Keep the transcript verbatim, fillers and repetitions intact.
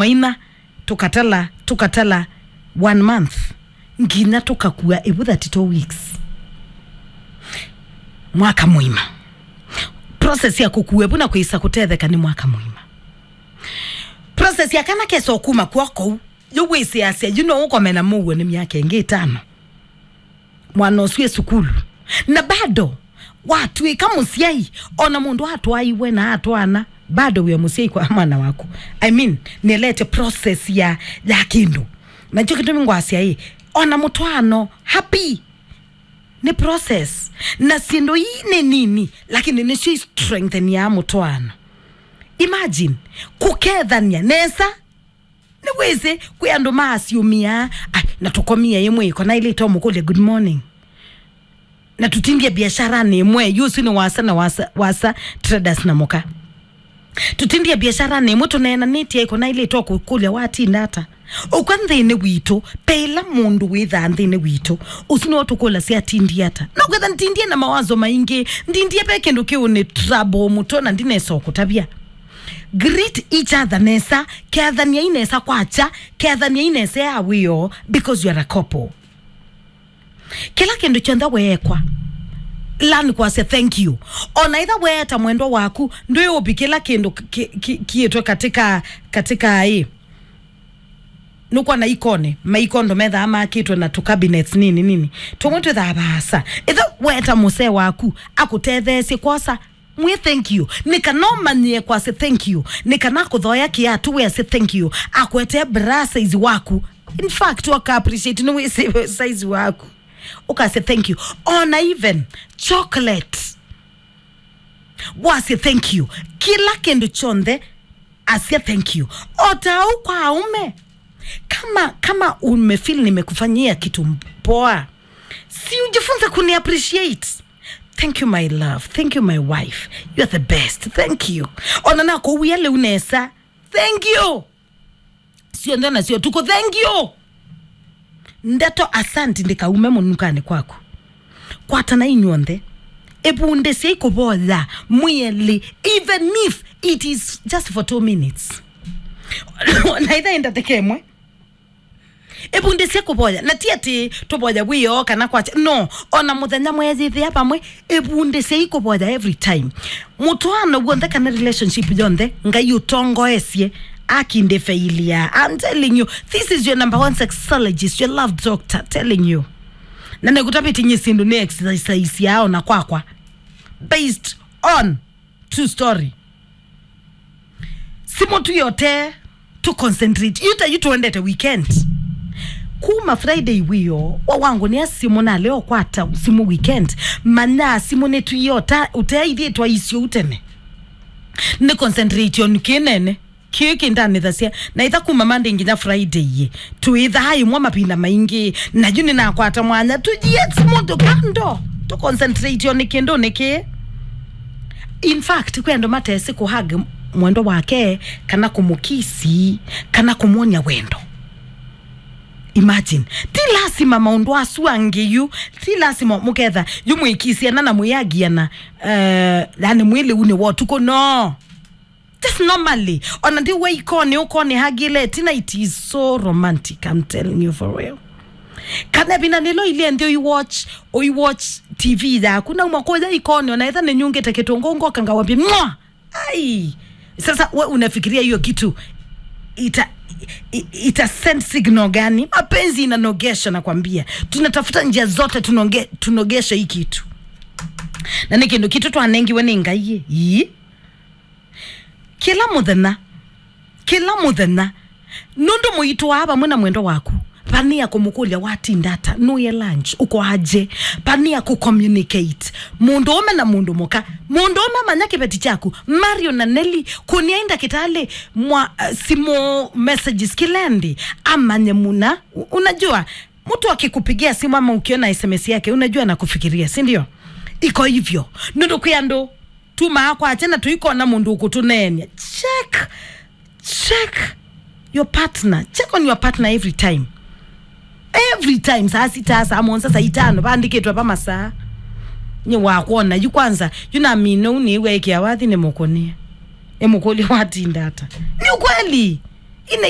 ina, tũkatala, tũkatala one month, nginya tũkakua ĩvu thirty-two weeks. Mwaka mũima. Process ya kũkua ĩvu na kwĩsa kũtetheka nĩ mwaka mũima. Process ya kana kesa ũkuma kw'o kũu, yu wĩsĩasya, yu no ũkome na mũuo nĩ myaka ĩngĩ ĩtano. Mwana ũsu e sukulu. Na bado, watw'ĩka mũsyai, ona mũndũ atwaiwe na atwaana, bado wĩ o mũsyai kwa mwana waku. I mean, nĩelete process ya, ya kĩndũ. Na nĩkyo kĩtumi ngwasya ĩ, ona mũtwaano, happy, nĩ process. Na syĩndũ ii nĩ nini, lakini nĩsyo i strengthenia mũtwaano. Imagine, kũkethania nesa, nĩwĩsĩ, kwĩ andũ maasumĩaa, "Ai, na tũkomie ĩmwe ĩko na ilĩ tomũkũlya good morning. Na tũtindie biasharanĩ ĩmwe, yu ũsu nĩ wasa na wasa, wasa traders na mũka. Tũtindie biasharanĩ ĩmwe tũneenanĩtye ĩko na ilĩ tokũkũlya watinda ata." Ũkwa nthĩnĩ witũ, pe ĩla mũndũ wĩthaa nthĩnĩ witũ, ũsu nĩwe tũkũlasya atindie ata. No kwĩtha ntindie na mawazo maingĩ, ndindie pe kĩndũ kĩũnĩ trouble mũtwe na ndinesa ũkũtavya. Greet each other nesa, kethaniai nesa kwakya, kethaniai nesa ya wĩoo, because you are a couple. Kĩla kĩndũ kyonthe weekwa, learn kwasya thank you. Ona itha weeta mwendwa waku, ndwĩ ũpi kĩla kĩndũ ki- ki- kiĩtwe katika, katika ĩ. Nũkwona ikonĩ, maikondo methaa makĩtwe na tũ cabinets nini nini. Tũmwe twĩthaa vaasa. Itha weeta mũsee waku, akũtetheesye kwosa, mwĩ thank you. Nĩ kana ũmanyĩe kwasya thank you. Nĩ kana akũthoya kĩatu wĩasye thank you. Akwetee bra size waku. In fact, waka appreciate nĩ wĩsĩ size waku. Ũkasya thank you. Ona even chocolate. Wasya thank you. Kĩla kĩndũ kyonthe, asya thank you. O ta ũu kwa aume. Kama, kama umefeel nimekufanyia kitu poa, si ujifunze kuni appreciate. Thank you, my love. Thank you, my wife. You are the best. Thank you. Ona nakũwia lĩu nesa. Thank you. Syonthe nasyo tuko thank you. Ndeto asanti ndikaume mũnukanĩ kwaku. Kwatana inyw'onthe. Ĩvundĩsyei kũvoya mwĩelĩ, even if it is just for two minutes. Na itha ĩ ndatĩka ĩmwe. Ĩvundĩsye kũvoya. Na ti atĩ tũvoya wĩoo kana kwakya. No, ona mũthenya mweyĩthĩa vamwe, ĩvundĩsyei kũvoya every time. Mũtwaano w'onthe kana relationship yonthe, Ngai ũtongoesye, akindĩfeilia. I'm telling you, this is your number one sexologist, your love doctor, telling you. Na nĩkũtavĩte nyie syĩndũ nĩ exercise yao na kwakwa. Based on true story. Simũ tu yote tu concentrate. Yu ta yu tuendete weekend. Kuma Friday wĩoo, wa wangu nĩ simũ na leo kwata simũ weekend. Manya simũ nĩ tu yota, ũteithĩtwa isio utene. Nĩ concentrate on kĩnene. Kĩĩ kĩndanĩthasya, na itha kuma Monday nginya Friday yĩ, twĩthaa ĩmwe mavinda maingĩ, na yu nĩnakwata mwanya, tujiet mũndũ kando, tũconcentrate o nĩ kĩndũ nĩkĩ. In fact, kwĩ andũ matesĩ kũhug mwendwa wake, kana kũmũkisi, kana kũmwony'a wendo. Imagine, ti lasima maũndũ asu angĩ yu, ti lasima mũketha yu mwĩkisiana na mwĩagiana, uh, yani mwĩlĩunĩ wa ũtukũ, no. Just normally. Ona ndi we ikone, ukone hagile. Tina, it is so romantic, I'm telling you for real. Kana vina nilo ile ndio you watch, or you watch T V yaku. Na umakoja ikone, ona etha ninyungite kitungu, ngoka ngawambia, "Mwa!" Ai! Sasa we unafikiria hiyo kitu ita, i- ita send signal gani? Mapenzi inanogesha, nakwambia. Tunatafuta njia zote tunonge, tunogeshe hii kitu. Na ni kindu kitu twanengiwe ni Ngai. Ii. Kĩla mũthenya, kĩla mũthenya, nũndũ mũitũaa vamwe na mwendwa waku, vania kũmũkũlya watinda ata, nũye lunch, ũkoaje, vania kũcommunicate mũndũũme na mũndũ mũka, mũndũũme amanya kĩveti kyaku. Mario na Nelly, kũniai ndakĩtalĩ mwa uh, simũ messages kĩla ĩndĩ, amanye mũna. U- unajua, mtu akikupigia simu ama ukiona S M S yake, unajua anakufikiria, si ndio? Iko hivyo. Nũndũ kwĩ andũ tumaa kwakya na tũikona mũndũ ũkũtũneenya. Check, check your partner. Check on your partner every time. Every time, saa sita, saa mũonza, saa itano, vaandĩkĩtwe va masaa. Nĩ wakwona, yu kwanza, yu namina ũu nĩw'eekĩa wathi nĩ mũkũnĩe. Ĩ mũkũlye watinda ata. Ni ukweli. Ĩna